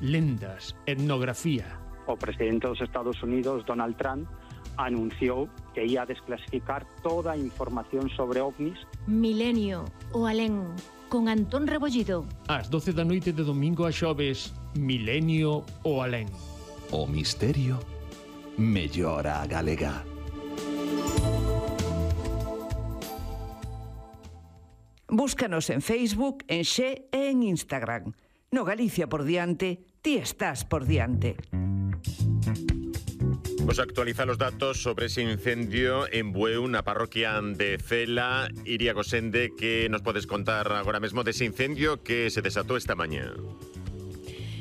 lendas, etnografía. O presidente dos Estados Unidos, Donald Trump, anunciou que ia desclasificar toda a información sobre ovnis. Milenio o alén, con Antón Rebollido. Ás 12 da noite de domingo a xoves, Milenio o alén. O misterio mellora a galega. Búscanos en Facebook, en Xe e en Instagram. No Galicia por diante, ti estás por diante. Vos actualiza los datos sobre ese incendio en Bueu, na parroquia de Cela. Iria Gosende, que nos podes contar agora mesmo dese incendio que se desatou esta mañá?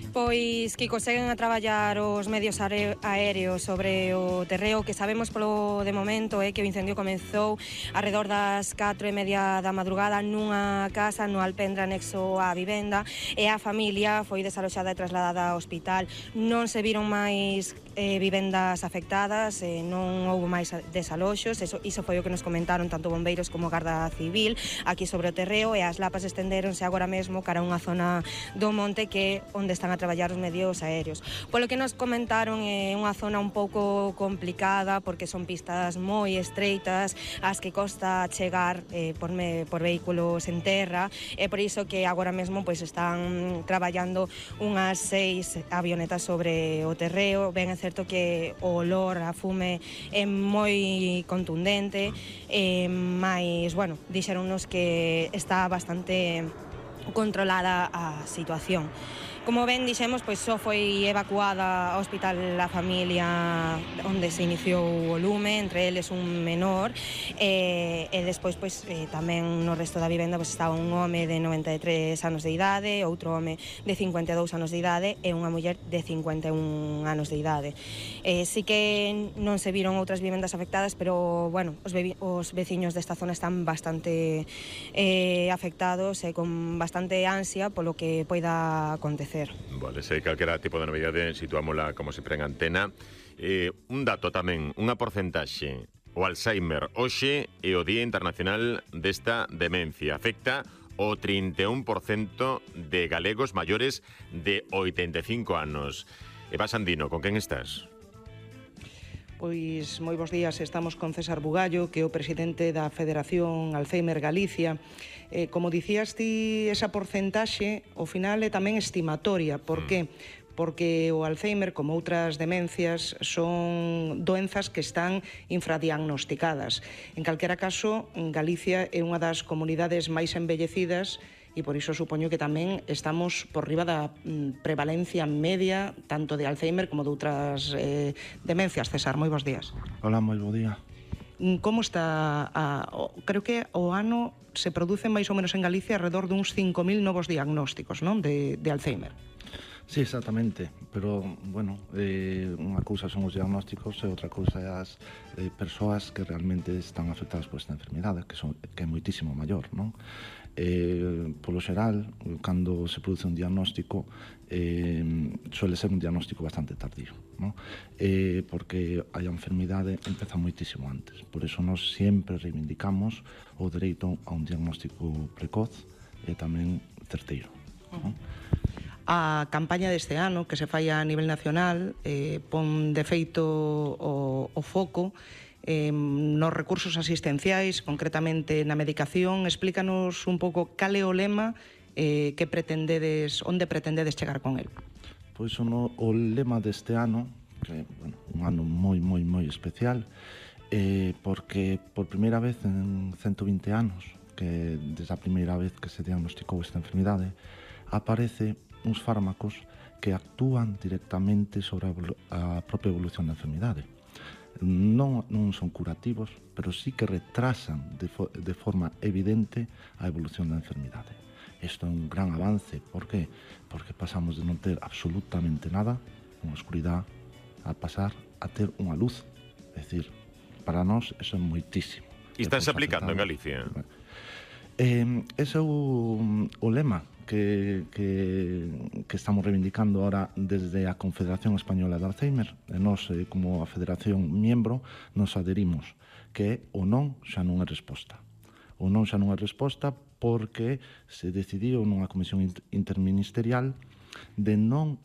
Pois, Kiko, seguen a traballar os medios aéreos sobre o terreo. Que sabemos polo de momento é que o incendio comezou arredor das 4:30 da madrugada nunha casa no Alpendre anexo á vivenda, e a familia foi desaloxada e trasladada ao hospital. Non se viron máis vivendas afectadas, non houve máis desaloxos. Iso foi o que nos comentaron tanto bombeiros como Garda Civil aquí sobre o terreo, e as lapas estendéronse agora mesmo cara a unha zona do monte que onde están a traballar os medios aéreos. Polo que nos comentaron, é unha zona un pouco complicada porque son pistas moi estreitas as que costa chegar por vehículos en terra, e por iso que agora mesmo pois están traballando unhas 6 avionetas sobre o terreo. Ben é certo que o olor a fume é moi contundente, mais, bueno, dixeronnos que está bastante controlada a situación. Como ben dixemos, pois só foi evacuada ao hospital a familia onde se iniciou o lume, entre eles un menor, e despois pois tamén no resto da vivenda pois estaba un home de 93 anos de idade, outro home de 52 anos de idade e unha muller de 51 anos de idade. Sí que non se viron outras vivendas afectadas, pero, bueno, os veciños desta zona están bastante afectados e con bastante ansia polo que poida acontecer. Vale, sei calquera tipo de novidade situámola como sempre en antena. Un dato tamén, unha porcentaxe. O Alzheimer hoxe é o Día Internacional desta demencia. Afecta o 31% de galegos maiores de 85 anos. Eva Sandino, con quen estás? Pois moi bons días, estamos con César Bugallo, que é o presidente da Federación Alzheimer Galicia. Como dicías ti, esa porcentaxe, ao final, é tamén estimatoria. Por que? Porque o Alzheimer, como outras demencias, son doenzas que están infradiagnosticadas. En calquera caso, Galicia é unha das comunidades máis embellecidas e por iso supoño que tamén estamos por riba da prevalencia media tanto de Alzheimer como de outras demencias. César, moi bons días. Hola, moi bo día. Como está? Creo que o ano se producen máis ou menos en Galicia alrededor duns 5.000 novos diagnósticos, non? De Alzheimer. Sí, exactamente, pero, bueno, unha cousa son os diagnósticos e outra cousa é as persoas que realmente están afectadas por esta enfermidade, que é moitísimo maior, non? Polo xeral, cando se produce un diagnóstico, suele ser un diagnóstico bastante tardío, non? Porque a enfermidade empeza moitísimo antes. Por iso nós sempre reivindicamos o dereito a un diagnóstico precoz e tamén certeiro, non? A campaña deste ano, que se fai a nivel nacional, pon de feito o foco nos recursos asistenciais, concretamente na medicación. Explícanos un pouco cal é o lema que pretendedes, onde pretendedes chegar con el. Pois o lema deste ano, que é, bueno, un ano moi especial, porque por primeira vez en 120 anos, que desde a primeira vez que se diagnosticou esta enfermidade, aparece uns fármacos que actúan directamente sobre a propia evolución da enfermidade. Non son curativos, pero sí que retrasan de forma evidente a evolución da enfermidade. Isto é un gran avance. Por qué? Porque pasamos de non ter absolutamente nada, unha oscuridade, a pasar a ter unha luz. É dicir, para nós, iso é moitísimo. E estás aplicando en Galicia? Ese é o lema que estamos reivindicando ahora desde a Confederación Española de Alzheimer. E nós, como a Federación miembro, nos adherimos que o non xa non é resposta. O non xa non é resposta porque se decidiu nunha comisión interministerial de non